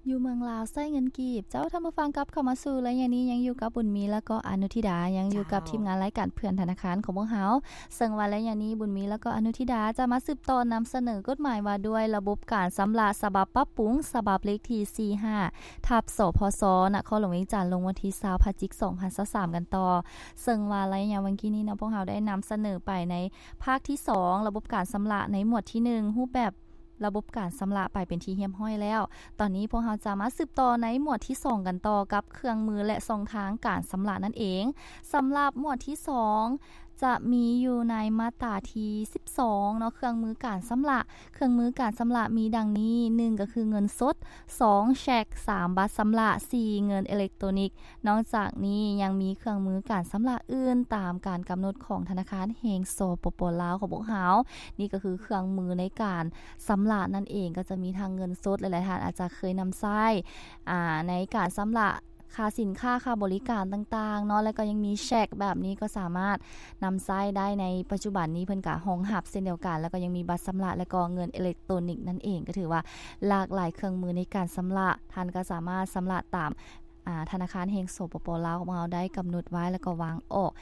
ຢູ່ເມືອງລາວໃຊ້ເງິນກີບ. ເຈົ້າ, ທ່ານຜູ້ຟັງ ກັບເຂົ້າມາສູ່ໄລຍະນີ້ ຍັງຢູ່ກັບບຸນມີ ແລ້ວກໍອະນຸທິດາ, ຍັງຢູ່ກັບ ເຈົ້າ ທີມງານລາຍການເພື່ອນທະນາຄານຂອງພວກເຮົາ. ເຊິ່ງວ່າໄລຍະນີ້ ບຸນມີ ແລ້ວກໍອະນຸທິດາ ຈະມາສືບຕໍ່ນຳສະເໜີກົດໝາຍວ່າດ້ວຍລະບົບການຊຳລະ ສະບັບປັບປຸງ ສະບັບເລກທີສີ່ຫ້າ ທັບ ສພສ ນະຄອນຫຼວງວຽງຈັນ ລົງວັນທີຊາວ ພະຈິກ ສອງພັນຊາວສາມ ກັນຕໍ່. ເຊິ່ງວ່າໄລຍະຫວ່າງກີ້ນີ້ເນາະ ພວກເຮົາໄດ້ນຳສະເໜີໄປໃນພາກທີສອງ ລະບົບການຊຳລະໃນໝວດທີໜຶ່ງ ຮູບແບບ ລະບົບການຊຳລະໄປເປັນທີ່ຮຽບຮ້ອຍແລ້ວ. ຕອນນີ້ພວກເຮົາຈະມາສືບຕໍ່ໃນໝວດທີສອງກັນຕໍ່ ກັບເຄື່ອງມື ແລະ ຊ່ອງທາງການຊຳລະນັ້ນເອງ. ສຳລັບໝວດທີສອງ ຈະມີຢູ່ໃນມາດຕາທີສິບສອງເນາະ, ເຄື່ອງມືການຊຳລະ. ເຄື່ອງມືການຊຳລະມີດັ່ງນີ້, ໜຶ່ງ ກໍຄືເງິນສົດ, ສອງ ແຊັກ, ສາມ ບັດຊຳລະ, ສີ່ ເງິນເອເລັກໂຕນິກ. ນອກຈາກນີ້ຍັງມີເຄື່ອງມືການຊຳລະອື່ນຕາມການກຳນົດຂອງທະນາຄານແຫ່ງ ສປປ ລາວ ຂອງພວກເຮົາ. ນີ້ກໍຄືເຄື່ອງມືໃນການຊຳລະນັ້ນເອງ, ກໍຈະມີທັງເງິນສົດ, ຫຼາຍໆທ່ານອາດຈະເຄີຍນຳໃຊ້ ອາ ໃນການຊຳລະຄ່າສິນຄ້າ, ຄ່າບໍລິການຕ່າງໆເນາະ, ແລ້ວກໍຍັງມີແຊັກແບບນີ້ ກໍສາມາດນຳໃຊ້ໄດ້ໃນປັດຈຸບັນນີ້, ເພິ່ນກໍຮອງຮັບເຊັ່ນດຽວກັນ, ແລ້ວກໍຍັງມີບັດຊຳລະ ແລ້ວກໍເງິນເອເລັກໂຕນິກນັ້ນເອງ. ກໍຖືວ່າຫຼາກຫຼາຍເຄື່ອງມືໃນການຊຳລະ, ທ່ານກໍສາມາດຊຳລະຕາມ ອາ ທະນາຄານແຫ່ງ ສປປ ລາວ ຂອງເຮົາໄດ້ກຳນົດໄວ້ ແລ້ວກໍວາງອອກ.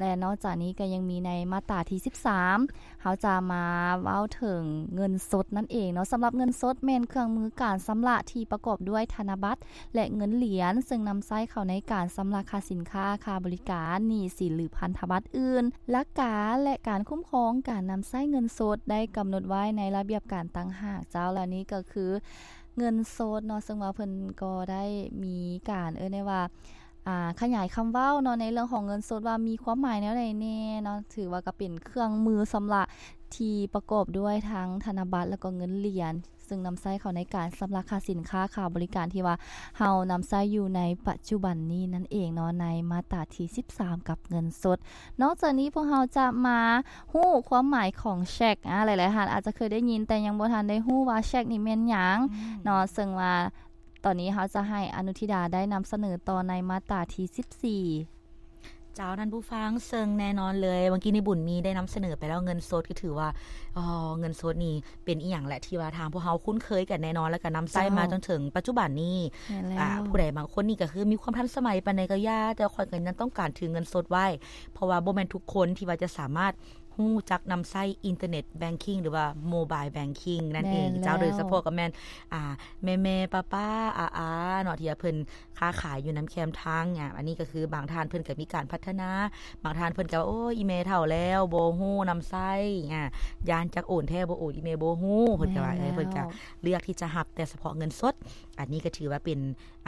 ແລະ ນອກຈາກນີ້ກໍຍັງມີໃນມາດຕາທີສິບສາມ ເຮົາຈະມາເວົ້າເຖິງເງິນສົດນັ້ນເອງເນາະ. ສຳລັບເງິນສົດແມ່ນເຄື່ອງມືການຊຳລະທີ່ປະກອບດ້ວຍທະນະບັດ ແລະ ເງິນຫຼຽນ, ເຊິ່ງນຳໃຊ້ເຂົ້າໃນການຊຳລະຄ່າສິນຄ້າ, ຄ່າບໍລິການ, ໜີ້ສິນ ຫຼື ພັນທະບັດອື່ນ. ຫຼັກການ ແລະ ການຄຸ້ມຄອງການນຳໃຊ້ເງິນສົດໄດ້ກຳນົດໄວ້ໃນລະບຽບການຕ່າງຫາກເຈົ້າ, ແລະ ນີ້ກໍຄື ເງິນສົດເນາະ, ເຊິ່ງວ່າເພິ່ນກໍໄດ້ມີການ ເອີ້ນໄດ້ວ່າ ອາ ຂະຫຍາຍຄຳເວົ້າເນາະ ໃນເລື່ອງຂອງເງິນສົດວ່າມີຄວາມໝາຍແນວໃດແດ່ເນາະ. ຖືວ່າກໍເປັນເຄື່ອງມືຊຳລະທີ່ປະກອບດ້ວຍທັງທະນະບັດ ແລ້ວກໍເງິນຫຼຽນ, ເຊິ່ງນຳໃຊ້ເຂົ້າໃນການຊຳລະຄ່າສິນຄ້າ, ຄ່າບໍລິການທີ່ວ່າເຮົານຳໃຊ້ຢູ່ໃນປັດຈຸບັນນີ້ນັ້ນເອງເນາະ, ໃນມາດຕາທີສິບສາມ ກັບເງິນສົດ. ນອກຈາກນີ້ພວກເຮົາຈະມາຮູ້ຄວາມໝາຍຂອງແຊັກ. ອາ ຫຼາຍໆທ່ານອາດຈະເຄີຍໄດ້ຍິນ ແຕ່ຍັງບໍ່ທັນໄດ້ຮູ້ວ່າແຊັກນີ້ແມ່ນຫຍັງ ອືມ ເນາະ, ເຊິ່ງວ່າຕອນນີ້ເຮົາຈະໃຫ້ອະນຸທິດາໄດ້ນຳສະເໜີຕໍ່ໃນມາດຕາທີສິບສີ່. ເຈົ້າ ທ່ານຜູ້ຟັງ, ເຊິ່ງແນ່ນອນເລີຍ ເມື່ອກີ້ນີ້ບຸນມີໄດ້ນຳສະເໜີໄປແລ້ວ ເງິນສົດ ກໍຖືວ່າ ເງິນສົດນີ້ ເປັນອີ່ຫຍັງແຫຼະ ທີ່ວ່າທາງພວກເຮົາຄຸ້ນເຄີຍກັນແນ່ນອນ ແລ້ວກໍນຳໃຊ້ມາ ເຈົ້າ ຈົນເຖິງປັດຈຸບັນນີ້. ແມ່ນແລ້ວ. ອາ ຜູ້ໃດບາງຄົນນີ້ກໍຄືມີຄວາມທັນສະໄໝປານໃດກໍຢ່າ, ແຕ່ຂ້ອຍກໍຍັງຕ້ອງການຖືເງິນສົດໄວ້, ເພາະວ່າບໍ່ແມ່ນທຸກຄົນທີ່ວ່າຈະສາມາດຮູ້ຈັກນຳໃຊ້ອິນເຕີເນັດແບັງຄິງ ຫຼືວ່າໂມບາຍແບັງຄິງນັ້ນເອງ. ແມ່ນແລ້ວ. ເຈົ້າ, ໂດຍສະເພາະກໍແມ່ນ ອາ ແມ່ໆ ປ້າໆ ອາໆ ເນາະ ທີ່ວ່າເພິ່ນ ຄ້າຂາຍຢູ່ນຳແຄມທາງ. ອາ ອັນນີ້ກໍຄືບາງທ່ານເພິ່ນກໍມີການພັດທະນາ, ບາງທ່ານເພິ່ນກໍວ່າ ໂອ້ຍ ອີ່ແມ່ເຖົ້າແລ້ວ ບໍ່ຮູ້ນຳໃຊ້, ອາ ຢ້ານຈັກໂອນແທ້ບໍ່ໂອນ ອີ່ແມ່ບໍ່ຮູ້, ເພິ່ນກໍວ່າ ແມ່ນແລ້ວ. ເອີ ເພິ່ນກໍເລືອກທີ່ຈະຮັບແຕ່ສະເພາະເງິນສົດ. ອັນນີ້ກໍຖືວ່າເປັນ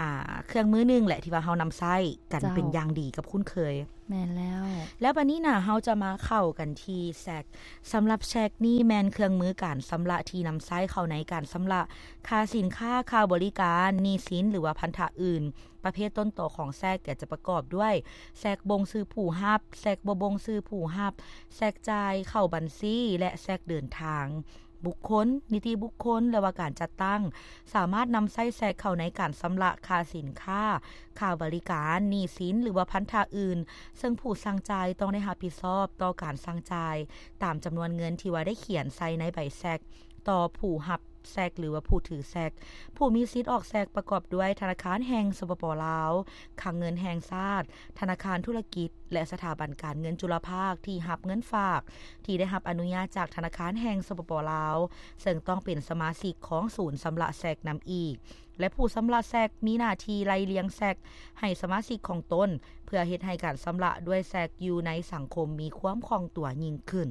ອາ ເຄື່ອງມືໜຶ່ງແຫຼະ ທີ່ວ່າເຮົານຳໃຊ້ກັນ ເຈົ້າ ເປັນຢ່າງດີກັບຄຸ້ນເຄີຍ. ແມ່ນແລ້ວ. ແລ້ວບັດນີ້ນະ ເຮົາຈະມາເຂົ້າກັນທີ່ແຊັກ. ສຳລັບແຊັກນີ້ແມ່ນເຄື່ອງມືການຊຳລະທີ່ນຳໃຊ້ເຂົ້າໃນການຊຳລະຄ່າສິນຄ້າ, ຄ່າບໍລິການ, ໜີ້ສິນ ຫຼືວ່າພັນທະອື່ນ. ປະເພດຕົ້ນຕໍຂອງແຊັກກໍຈະປະກອບດ້ວຍ ແຊັກບົ່ງຊື່ຜູ້ຮັບ, ແຊັກບໍ່ບົ່ງຊື່ຜູ້ຮັບ, ແຊັກຈ່າຍເຂົ້າບັນຊີ ແລະ ແຊັກເດີນທາງ. ບຸກຄົນ, ນິຕິບຸກຄົນ ຫຼືວ່າການຈັດຕັ້ງ ສາມາດນຳໃຊ້ແຊັກເຂົ້າໃນການຊຳລະຄ່າສິນຄ້າ, ຄ່າບໍລິການ, ໜີ້ສິນ ຫຼືວ່າພັນທະອື່ນ, ເຊິ່ງຜູ້ສັ່ງຈ່າຍຕ້ອງໄດ້ຮັບຜິດຊອບຕໍ່ການສັ່ງຈ່າຍຕາມຈຳນວນເງິນທີ່ວ່າໄດ້ຂຽນໃສ່ໃນໃບແຊັກຕໍ່ຜູ້ຮັບ ແຊັກ ຫຼືວ່າຜູ້ຖືແຊັກ. ຜູ້ມີສິດອອກແຊັກປະກອບດ້ວຍທະນາຄານແຫ່ງ ສປປ ລາວ, ຄັງເງິນແຫ່ງຊາດ, ທະນາຄານທຸລະກິດ ແລະ ສະຖາບັນການເງິນຈຸລະພາກທີ່ຮັບເງິນຝາກ ທີ່ໄດ້ຮັບອະນຸຍາດຈາກທະນາຄານແຫ່ງ ສປປ ລາວ, ເຊິ່ງຕ້ອງເປັນສະມາຊິກຂອງສູນຊຳລະແຊັກນຳອີກ ແລະ ຜູ້ຊຳລະແຊັກມີໜ້າທີ່ໄລ່ລຽງແຊັກໃຫ້ສະມາຊິກຂອງຕົນ ເພື່ອເຮັດໃຫ້ການຊຳລະດ້ວຍແຊັກຢູ່ໃນສັງຄົມມີຄວາມຄ່ອງຕົວຍິ່ງຂຶ້ນ.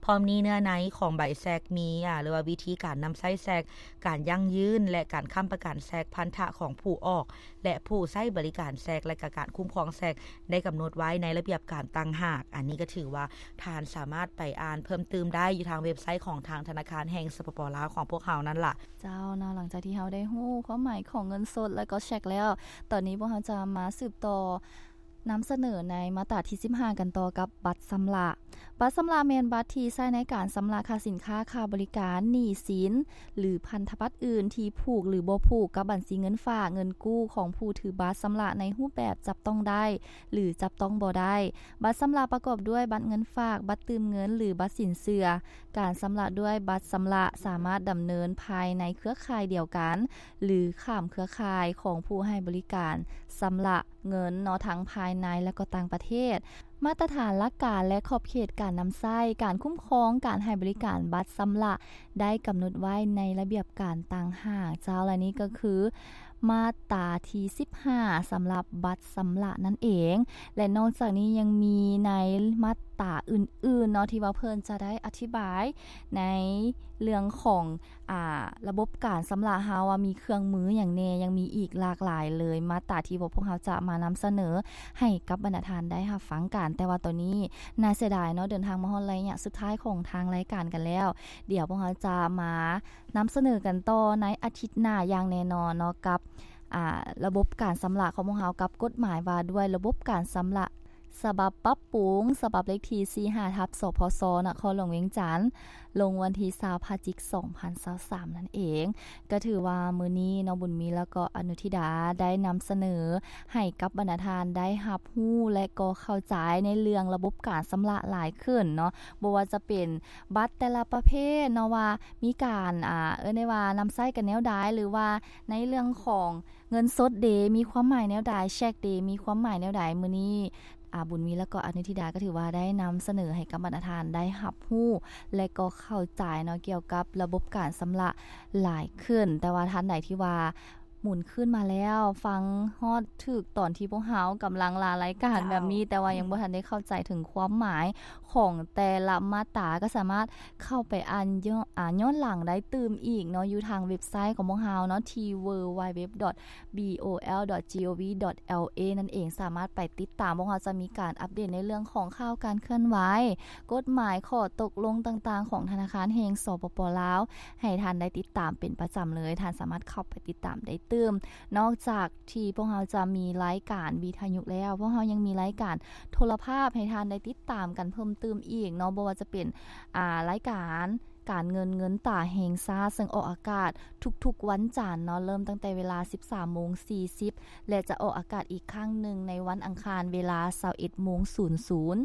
ພ້ອມນີ້ເນື້ອໃນຂອງໃບແຊັກມີ ອາ ຫຼືວ່າວິທີການນຳໃຊ້ແຊັກ, ການຢັ້ງຢືນ ແລະ ການຄ້ຳປະກັນແຊັກ, ພັນທະຂອງຜູ້ອອກ ແລະ ຜູ້ໃຊ້ບໍລິການແຊັກ ແລະ ກະການຄຸ້ມຄອງແຊັກ ໄດ້ກຳນົດໄວ້ໃນລະບຽບການຕ່າງຫາກ. ອັນນີ້ກໍຖືວ່າທ່ານສາມາດໄປອ່ານເພີ່ມຕື່ມໄດ້ຢູ່ທາງເວັບໄຊຂອງທາງທະນາຄານແຫ່ງ ສປປ ລາວ ຂອງພວກເຮົານັ້ນລະ. ເຈົ້າເນາະ, ຫຼັງຈາກທີ່ເຮົາໄດ້ຮູ້ຄວາມໝາຍຂອງເງິນສົດ ແລະ ກໍແຊັກແລ້ວ, ຕອນນີ້ພວກເຮົາຈະມາສືບຕໍ່ ນຳສະເໜີໃນມາດຕາທີສິບຫ້າກັນຕໍ່ກັບບັດຊຳລະ. ບັດຊຳລະແມ່ນບັດທີ່ໃຊ້ໃນການຊຳລະຄ່າສິນຄ້າ, ຄ່າບໍລິການ, ໜີ້ສິນ ຫຼື ພັນທະບັດອື່ນທີ່ຜູກ ຫຼື ບໍ່ຜູກກັບບັນຊີເງິນຝາກ, ເງິນກູ້ຂອງຜູ້ຖືບັດຊຳລະໃນຮູບແບບຈັບຕ້ອງໄດ້ ຫຼື ຈັບຕ້ອງບໍ່ໄດ້. ບັດຊຳລະປະກອບດ້ວຍບັດເງິນຝາກ, ບັດຕື່ມເງິນ ຫຼື ບັດສິນເຊື່ອ. ການຊຳລະດ້ວຍບັດຊຳລະສາມາດດຳເນີນພາຍໃນເຄືອຂ່າຍດຽວກັນ ຫຼື ຂ້າມເຄືອຂ່າຍຂອງຜູ້ໃຫ້ບໍລິການຊຳລະເງິນເນາະ ທັງພາຍໃນ ແລະ ກໍຕ່າງປະເທດ. ມາດຕະຖານຫຼັກການ ແລະ ຂອບເຂດການນຳໃຊ້, ການຄຸ້ມຄອງການໃຫ້ບໍລິການບັດຊຳລະ ໄດ້ກຳນົດໄວ້ໃນລະບຽບການຕ່າງຫາກເຈົ້າ ແລະ ນີ້ກໍຄືມາດຕາທີສິບຫ້າ ສຳລັບບັດຊຳລະນັ້ນເອງ. ແລະ ນອກຈາກນີ້ຍັງມີໃນມາດຕາອື່ນໆເນາະ ທີ່ວ່າເພິ່ນຈະໄດ້ອະທິບາຍໃນເລື່ອງຂອງ ອ່າ ລະບົບການຊຳລະເຮົາວ່າມີເຄື່ອງມືຫຍັງແດ່, ຍັງມີອີກຫຼາກຫຼາຍເລີຍ ມາດຕາທີ່ວ່າພວກເຮົາຈະມານຳສະເໜີໃຫ້ກັບບັນດາທ່ານໄດ້ຮັບຟັງກັນ. ແຕ່ວ່າຕອນນີ້ໜ້າເສຍດາຍເນາະ ເດີນທາງມາຮອດໄລຍະສຸດທ້າຍຂອງທາງລາຍການກັນແລ້ວ. ດຽວພວກເຮົາຈະມານຳສະເໜີກັນຕໍ່ໃນອາທິດໜ້າຢ່າງແນ່ນອນເນາະ ກັບ ອ່າ ລະບົບການຊຳລະຂອງພວກເຮົາ ກັບກົດໝາຍວ່າດ້ວຍລະບົບການຊຳລະ ສະບັບປັບປຸງ ສະບັບເລກທີສີ່ຫ້າ ທັບ ສພສ ນະຄອນຫຼວງວຽງຈັນ ລົງວັນທີຊາວ ພະຈິກ ສອງພັນຊາວສາມນັ້ນເອງ. ກໍຖືວ່າມື້ນີ້ເນາະ ບຸນມີ ແລ້ວກໍອະນຸທິດາ ໄດ້ນຳສະເໜີໃຫ້ກັບບັນດາທ່ານໄດ້ຮັບຮູ້ ແລະ ກໍເຂົ້າໃຈໃນເລື່ອງລະບົບການຊຳລະຫຼາຍຂຶ້ນເນາະ, ບໍ່ວ່າຈະເປັນບັດແຕ່ລະປະເພດເນາະ ວ່າມີການ ອ່າ ເອີ້ນໄດ້ວ່ານຳໃຊ້ກັນແນວໃດ ຫຼືວ່າໃນເລື່ອງຂອງ ເງິນສົດເດ ມີຄວາມໝາຍແນວໃດ, ເຊັກເດ ມີຄວາມໝາຍແນວໃດ. ມື້ນີ້ ອາ ບຸນມີ ແລ້ວກໍອະນຸທິດາ ກໍຖືວ່າໄດ້ນຳສະເໜີໃຫ້ກັບບັນດາທ່ານໄດ້ຮັບຮູ້ ແລະ ກໍເຂົ້າໃຈເນາະ ກ່ຽວກັບລະບົບການຊຳລະຫຼາຍຂຶ້ນ. ແຕ່ວ່າທ່ານໃດທີ່ວ່າໝູນຄືນມາແລ້ວ ຟັງຮອດຖືກຕອນທີ່ພວກເຮົາກຳລັງລາລາຍການແບບນີ້ ເຈົ້າ ແຕ່ວ່າຍັງບໍ່ທັນໄດ້ເຂົ້າໃຈເຖິງຄວາມໝາຍ ຂອງແຕ່ລະມາດຕາ ກໍສາມາດເຂົ້າໄປອ່ານຍ້ອນ ອ່າ ຍ້ອນຫຼັງໄດ້ຕື່ມອີກເນາະ ຢູ່ທາງເວັບໄຊຂອງພວກເຮົາເນາະ ທີ່ ดัບເບິນຢູ ດັບເບິນຢູ ດັບເບິນຢູ ດັບເບິນຢູ ດັບເບິນຢູ ດັບເບິນຢູ ດັບເບິນຢູ ດັບເອ ນັ້ນເອງ. ສາມາດໄປຕິດຕາມ ພວກເຮົາຈະມີການອັບເດດໃນເລື່ອງຂອງຂ່າວການເຄື່ອນໄຫວ, ກົດໝາຍ, ຂໍ້ຕົກລົງຕ່າງໆຂອງທະນາຄານແຫ່ງ ສປປ ລາວ ໃຫ້ທ່ານໄດ້ຕິດຕາມເປັນປະຈຳເລີຍ. ທ່ານສາມາດເຂົ້າໄປຕິດຕາມໄດ້ຕື່ມ. ນອກຈາກ ທີ່ພວກເຮົາຈະມີລາຍການວິທະຍຸແລ້ວ, ພວກເຮົາຍັງມີລາຍການໂທລະພາບໃຫ້ທ່ານໄດ້ຕິດຕາມກັນເພີ່ມຕື່ມອີກເນາະ, ບໍ່ວ່າຈະເປັນ ອາ ລາຍການການເງິນ ເງິນຕາແຫ່ງຊາດ ເຊິ່ງອອກອາກາດທຸກໆວັນຈັນເນາະ, ເລີ່ມຕັ້ງແຕ່ເວລາສິບສາມໂມງສີ່ສິບ ແລະ ຈະອອກອາກາດອີກຄັ້ງໜຶ່ງໃນວັນອັງຄານເວລາຊາວເອັດໂມງສູນສູນ.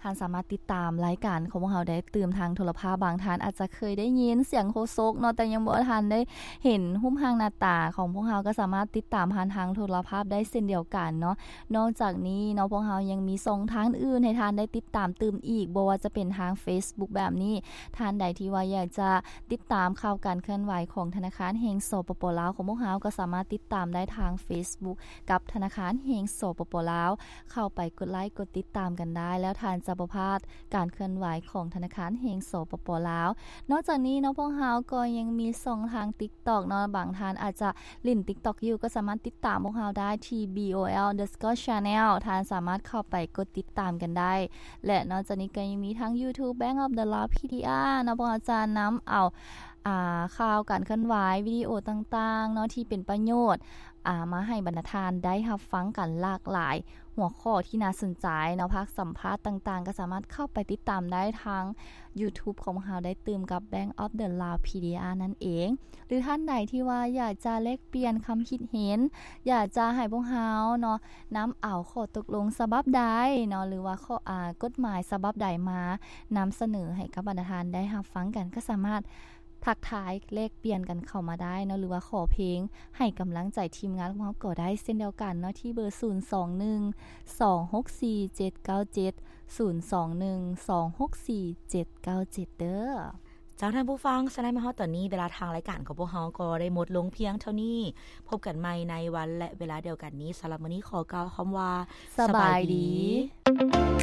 ທ່ານສາມາດຕິດຕາມລາຍການຂອງພວກເຮົາໄດ້ຕື່ມທາງໂທລະພາບ. ບາງທ່ານອາດຈະເຄີຍໄດ້ຍິນສຽງໂຄສົກເນາະ, ແຕ່ຍັງບໍ່ທັນໄດ້ເຫັນຮູບຮ່າງໜ້າຕາຂອງພວກເຮົາ, ກໍສາມາດຕິດຕາມຜ່ານທາງໂທລະພາບໄດ້ເຊັ່ນດຽວກັນເນາະ. ນອກຈາກນີ້ເນາະ, ພວກເຮົາຍັງມີຊ່ອງທາງອື່ນໃຫ້ທ່ານໄດ້ຕິດຕາມຕື່ມອີກ, ບໍ່ວ່າຈະເປັນທາງເຟສບຸກແບບນີ້, ທ່ານໃດທີ່ວ່າຢາກຈະຕິດຕາມຂ່າວການເຄື່ອນໄຫວຂອງທະນາຄານແຫ່ງ ສປປ ລາວ ຂອງພວກເຮົາ, ກໍສາມາດຕິດຕາມໄດ້ທາງເຟສບຸກ ກັບທະນາຄານແຫ່ງ ສປປ ລາວ, ເຂົ້າໄປກົດໄລກົດຕິດຕາມກັນໄດ້ ແລ້ວທ່ານຈະບໍ່ພາດການເຄື່ອນໄຫວຂອງທະນາຄານແຫ່ງ ສປປ ລາວ. ນອກຈາກນີ້ເນາະ, ພວກເຮົາກໍຍັງມີຊ່ອງທາງ TikTok ເນາະ, ບາງທ່ານອາດຈະຫຼິ້ນ TikTok ຢູ່ ກໍສາມາດຕິດຕາມພວກເຮົາໄດ້ທີ່ B O L underscore channel ທ່ານສາມາດເຂົ້າໄປກົດຕິດຕາມກັນໄດ້. ແລະ ນອກຈາກນີ້ກໍຍັງມີທັງ YouTube Bank of the Lao PDR ເນາະ, ພວກເຮົາຈະນຳເອົາ ອ່າ ຂ່າວການເຄື່ອນໄຫວ, ວິດີໂອຕ່າງໆເນາະ ທີ່ເປັນປະໂຫຍດ ອ່າ ມາໃຫ້ບັນດາທ່ານໄດ້ຮັບຟັງກັນຫຼາກຫຼາຍຫົວຂໍ້ທີ່ໜ້າສົນໃຈເນາະ, ພາກສຳພາດຕ່າງໆ ກໍສາມາດເຂົ້າໄປຕິດຕາມໄດ້ທາງ YouTube ຂອງພວກເຮົາໄດ້ຕື່ມກັບ Bank of the Lao PDR ນັ້ນເອງ. ຫຼືທ່ານໃດທີ່ວ່າຢາກຈະແລກປ່ຽນຄຳຄິດເຫັນ, ຢາກຈະໃຫ້ພວກເຮົາເນາະ ນຳເອົາຂໍ້ຕົກລົງສະບັບໃດເນາະ ຫຼືວ່າຂໍ້ ອາ ກົດໝາຍສະບັບໃດມານຳສະເໜີໃຫ້ກັບບັນດາທ່ານໄດ້ຮັບຟັງກັນ, ກໍສາມາດ ທັກທາຍແລກປ່ຽນກັນເຂົ້າມາໄດ້ເນາະ ຫຼືວ່າຂໍເພງໃຫ້ກຳລັງໃຈທີມງານຂອງເຮົາກໍໄດ້ເຊັ່ນດຽວກັນເນາະ ທີ່ເບີ ສູນສອງໜຶ່ງ ສອງຫົກສີ່ ເຈັດເກົ້າເຈັດ ສູນສອງໜຶ່ງ ສອງຫົກສີ່ ເຈັດເກົ້າເຈັດ ເດີ້. ເຈົ້າ ທ່ານຜູ້ຟັງ, ສະນັ້ນມາຮອດຕອນນີ້ ເວລາທາງລາຍການຂອງພວກເຮົາກໍໄດ້ໝົດລົງພຽງເທົ່ານີ້. ພົບກັນໃໝ່ໃນວັນ ແລະ ເວລາດຽວກັນນີ້. ສຳລັບມື້ນີ້ຂໍກ່າວຄຳວ່າ ສະບາຍດີ. ສະບາຍດີ.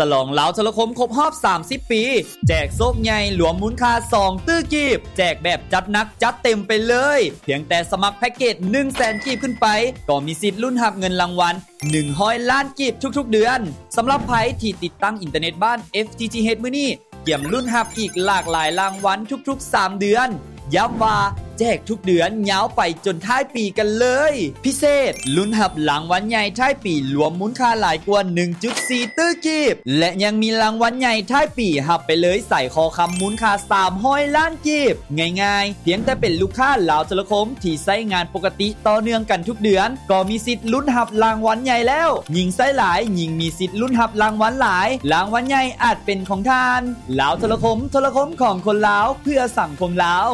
ສະຫຼອງລາວໂທລະຄົມຄົບຮອບສາມສິບປີ ແຈກໂຊກໃຫຍ່ລວມມູນຄ່າສອງຕື້ກີບ, ແຈກແບບຈັດໜັກຈັດເຕັມໄປເລີຍ. ພຽງແຕ່ສະໝັກແພັກເກດໜຶ່ງແສນກີບຂຶ້ນໄປ ກໍມີສິດລຸ້ນຮັບເງິນລາງວັນໜຶ່ງຮ້ອຍລ້ານກີບທຸກໆເດືອນ. ສຳລັບໃຜທີ່ຕິດຕັ້ງອິນເຕີເນັດບ້ານ FTTH ມື້ນີ້ ກຽມລຸ້ນຮັບອີກຫຼາກຫຼາຍລາງວັນທຸກໆສາມເດືອນ. ຢ້ຳວ່າ ແຈກທຸກເດືອນຍາວໄປຈົນທ້າຍປີກັນເລີຍ. ພິເສດ, ລຸ້ນຮັບລາງວັນໃຫຍ່ທ້າຍປີລວມມູນຄ່າຫຼາຍກວ່າໜຶ່ງຈຸດສີ່ຕື້ກີບ ແລະ ຍັງມີລາງວັນໃຫຍ່ທ້າຍປີຮັບໄປເລີຍສາຍຄໍຄຳມູນຄ່າສາມຮ້ອຍລ້ານກີບ. ງ່າຍໆ, ພຽງແຕ່ເປັນລູກຄ້າລາວໂທລະຄົມທີ່ໃຊ້ງານປົກກະຕິຕໍ່ເນື່ອງກັນທຸກເດືອນ ກໍມີສິດລຸ້ນຮັບລາງວັນໃຫຍ່ແລ້ວ. ຍິ່ງໃຊ້ຫຼາຍ, ຍິ່ງມີສິດລຸ້ນຮັບລາງວັນຫຼາຍ. ລາງວັນໃຫຍ່ອາດເປັນຂອງທ່ານ. ລາວໂທລະຄົມ, ໂທລະຄົມຂອງຄົນລາວ, ເພື່ອສັງຄົມລາວ.